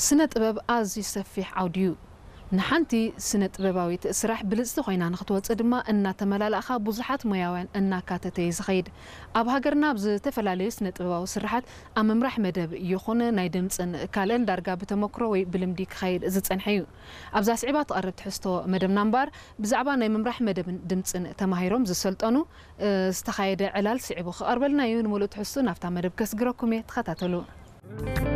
ስነ ጥበብ ኣዝዩ ሰፊሕ ዓውዲ እዩ። ንሓንቲ ስነ ጥበባዊት ስራሕ ብልጽቲ ኮይና ንክትወጽእ ድማ እናተመላላእኻ ብዙሓት ሞያውያን እናካተተ እዩ ዝኸይድ። ኣብ ሃገርና ኣብ ዝተፈላለዩ ስነ ጥበባዊ ስርሓት ኣብ ምምራሕ መደብ ይኹን ናይ ድምጽን ካልእን ዳርጋ ብተመክሮ ወይ ብልምዲ ክኸይድ ዝጸንሐ እዩ። ኣብዛ ስዒባ ትቐርብ ትሕዝቶ መደብና እምበኣር ብዛዕባ ናይ ምምራሕ መደብን ድምጽን ተማሂሮም ዝሰልጠኑ ዝተኻየደ ዕላል ስዒቡ ክቐርበልና እዩ። ንምሉእ ትሕዝቶ ናብታ መደብ ከስግረኩም እየ። ተኸታተሉ።